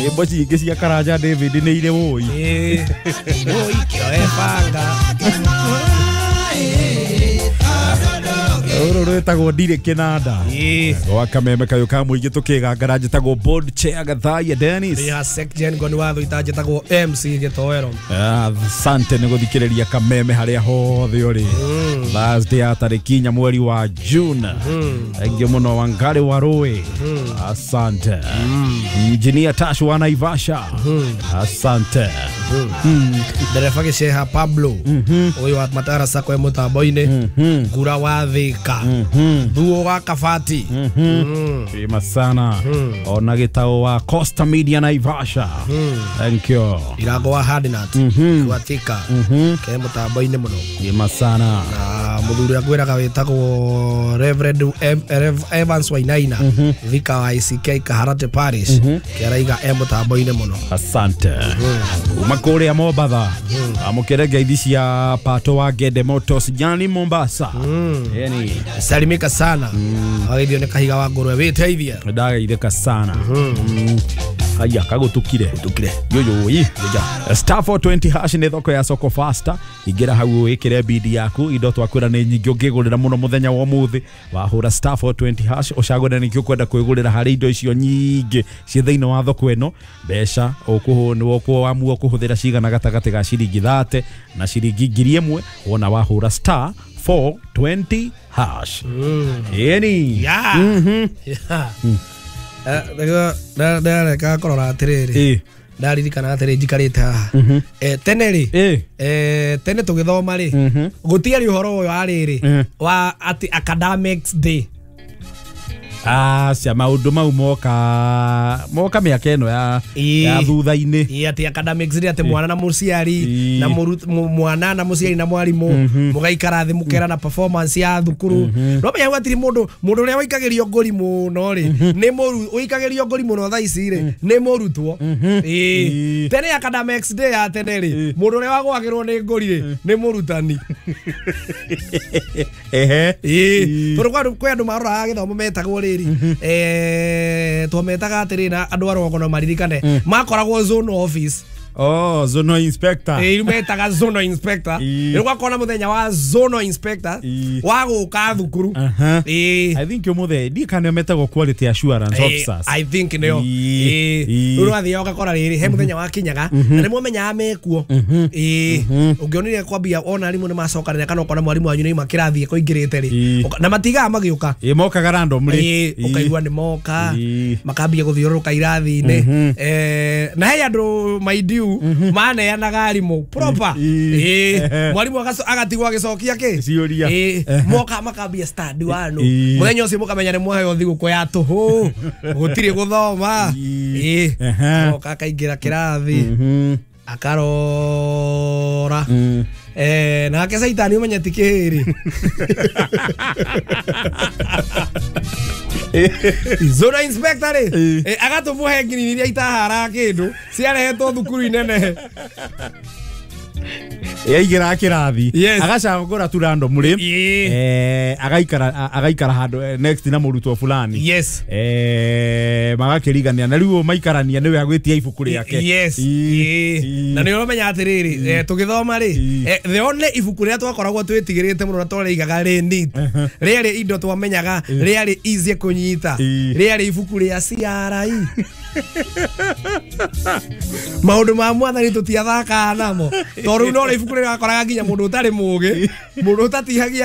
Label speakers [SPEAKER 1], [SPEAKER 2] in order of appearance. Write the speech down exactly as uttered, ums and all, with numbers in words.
[SPEAKER 1] Nyĩmbo cingĩ cia Karanja David nĩ irĩ wũi.
[SPEAKER 2] Ĩĩ. Wũi kĩoe banga.
[SPEAKER 1] Rũrũ rwĩtagwo ndirĩ kĩnanda.
[SPEAKER 2] Ĩĩ.
[SPEAKER 1] Gwa kameme kayũ ka mũingĩ tũkĩgangara njĩtagwo board chair Gathaiya Dennis.
[SPEAKER 2] Ya Sekjen ngoni watho itanjĩtagwo M C Gĩtoero.
[SPEAKER 1] Asante nĩ gũthikĩrĩria kameme harĩa hothe ũrĩ. Thursday ya tarĩki inya mweri wa June. Thank mũno Wangari wa Rũĩ. Asante. Engineer Tash wa Naivasha. Asante.
[SPEAKER 2] Ndereba Gĩceha Pablo ũyũ wa Matara Sacco e mũtambo-inĩ. Ngura wa Thika. Thuo wa Kabati.
[SPEAKER 1] Wema sana. Ona gĩtao wa Costa Media Naivasha. Thank you.
[SPEAKER 2] Irago wa Hardnut wa Thika ke mũtambo-inĩ mũno.
[SPEAKER 1] Wema sana.
[SPEAKER 2] Na mũthuri akwĩraga wĩtagwo Reverend Evans Wainaina Thika wa I C K Kaharate Parish kĩaraiga e mũtambo-inĩ mũno.
[SPEAKER 1] Asante. Kuma kũrĩa Mombatha amũkĩre ngeithi cia Pato wa Gede Motors Jani Mombasa. Yani
[SPEAKER 2] salimika sana. Wageithio nĩ kahiga wa ngũrwe wĩteithie.
[SPEAKER 1] Ndageithĩka sana. Haya kagũtukire.
[SPEAKER 2] Gũtukire.
[SPEAKER 1] Yoyo Star four twenty hash nĩ thoko ya soko faster. Ingĩra hau wĩkĩre bidi yaku indo twakwĩra nĩ nyingĩ ũngĩgũrĩra mũno mũthenya wa ũmũthĩ. Wahũra star four twenty hash ũcagũre nĩkĩ ũkwenda kwĩgũrĩra harĩ indo icio nyingĩ ciĩ thĩinĩ wa thoko ĩno. Mbeca ũkũamua kũhũthĩra cigana gatagatĩ ga ciringi thate na ciringi ngiri ĩmwe wona wahũra star four twenty hash. Yeni.
[SPEAKER 2] Yeah. Yeah. Ndareka kũrora atĩrĩrĩ ndaririkana atĩrĩ njikarĩte haha tene rĩ tene tũgĩthoma rĩ gũtiarĩ ũhoro ũyũ wa rĩrĩ wa atĩ academics day.
[SPEAKER 1] Aca maũndũ mau moka moka mĩaka ĩno ya ya thutha-inĩ.
[SPEAKER 2] Ĩ atĩ academics day atĩ mwana na mũciari na mwana na mũciari na mwarimũ mũgaikara thĩ mũkerana performance ya thukuru. No menya gwatirĩ mũndũ mũndũ ũrĩa waikagĩrio ngũri mũno rĩ nĩ mũru ũikagĩrio ngũri mũno thaa ici rĩ nĩ mũrutwo. Ĩ tene academics day ya tene rĩ mũndũ ũrĩa wagwagĩrwo nĩ ngũri rĩ nĩ mũrutani.
[SPEAKER 1] Ehe.
[SPEAKER 2] Ĩ tondũ kwĩ andũ maroraga gĩthomo metagwo rĩ eh twametaga atĩrĩ na andũ a rũgongo no maririkane makoragwo zone office.
[SPEAKER 1] Oh, zonal inspector.
[SPEAKER 2] Eh, metaga zonal inspector. Rĩu gwakona mũthenya wa zonal inspector wa gũka thukuru.
[SPEAKER 1] Eh. I think ũmũthĩ ndi kana metagwo quality assurance officers.
[SPEAKER 2] I think nĩo. Eh, rĩu wathiĩ ũgakora rĩrĩ he mũthenya wa kinyaga na nĩ mwamenyaga mekuo. Eh, ũngĩonire kwambia ona arimũ nĩ macokanĩra kana ũkona mwarimũ wanyu nĩ kĩrathi kũingĩrĩte rĩ. Na matigaga magĩũka.
[SPEAKER 1] Eh, mokaga randomly.
[SPEAKER 2] Eh, ũkaigua nĩ moka makambia gũthiũrũrũka irathi-inĩ. Eh, na he andũ maidiu maneanaga arimũ proper. Eh, mwarimu agatigwo agĩcokia kĩ
[SPEAKER 1] ciũria.
[SPEAKER 2] Eh, moka makambia stand one mũthenya ũcio mũkamenya nĩ mwaheo thigũkũ ya tũhũ gũtirĩ gũthoma. Eh, moka akaingĩra kĩrathi akarora. Eh, nake caitani ũmenye ti kĩhĩrĩ. Zona inspector rĩ agatũmũhe ngirini iria itaharaga kĩndũ ciarehetwo thukuru inene.
[SPEAKER 1] Yaigĩra kĩrathi agacagũra tu randomly eh agaikara agaikara handũ next na mũrutwo fulani.
[SPEAKER 2] Yes.
[SPEAKER 1] Eh magakĩrigania na rĩu maikarania nĩwe agwĩtia ibuku rĩake.
[SPEAKER 2] Yes. Na nĩ ũramenya atĩrĩrĩ tũgĩthoma rĩ the only ibuku rĩrĩa twakoragwo twĩtigĩrĩte mũno na twarĩigaga rĩ neat rĩarĩ indo twamenyaga rĩarĩ easy kũnyita rĩarĩ ibuku rĩa C R I. Maũndũ ma mwathani tũtiathakaga namo tondũ no rĩ ibuku rĩrĩa wakoraga nginya mũndũ ũtarĩ mũgĩ mũndũ ũtatihagia